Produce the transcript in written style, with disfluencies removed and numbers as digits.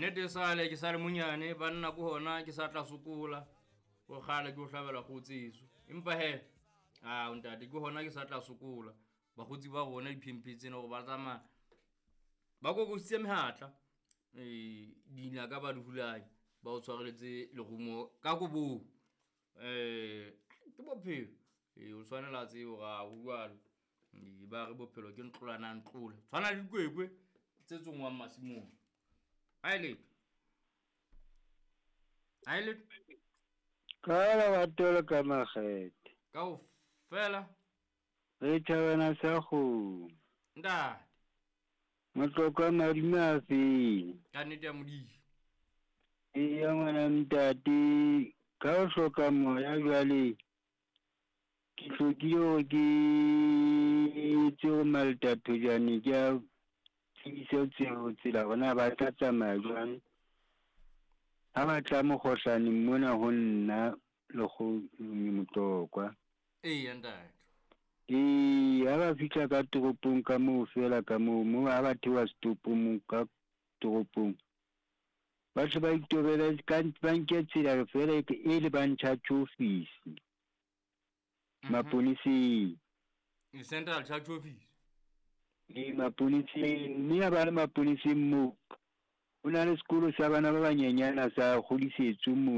Nnete sale ke sa le monyane banna ko hona ke sa tla sokola. O kgale ke o hlabela kgotseso. Empa he, a ntate ke hona ke sa tla sokola. Bakgotsi ba rona diphemphe tsena hore ba tsamaya ba kokositse mehatla. Ee, dinaka ba di hulanya, ba o tshwareletse lerumo ka kobong. Ke bophelo. Ee, o tshwanela tsebe hore ha ho jwalo. Ee, ba re bophelo ke ntlolana ntlola. Tshwana le dikwekwe tse tsongwang masimong. Ha e letho. Ha e letho. Ka lerato le ka makgethe. Kaofela. Re thabana sa kgomo. Ntate. Motlokwa madume a feng? Ka nnete ya Modimo. Eya ngwana ntate, ka ho hloka moya jwale ke hlokile hore ke etse hore maltathojane ke a tsebise tseo tsela hore na ba tla tsamaya jwang. Ha ba tla mokgohlaneng mona ho nna Motlokwa. Eya ntate. Ee, ha ba fihla ka toropong ka moo feela ka moo, moo ha ba theoha setopong moo ka toropong. Ba tle ba itobele ka ba nke tsela feela e lebang church office. Maponeseng. Central Church Office. Ee, maponeseng, mme ha ba le maponeseng moo, ho na le sekolo sa bana ba banyenyana sa kgodisetso moo.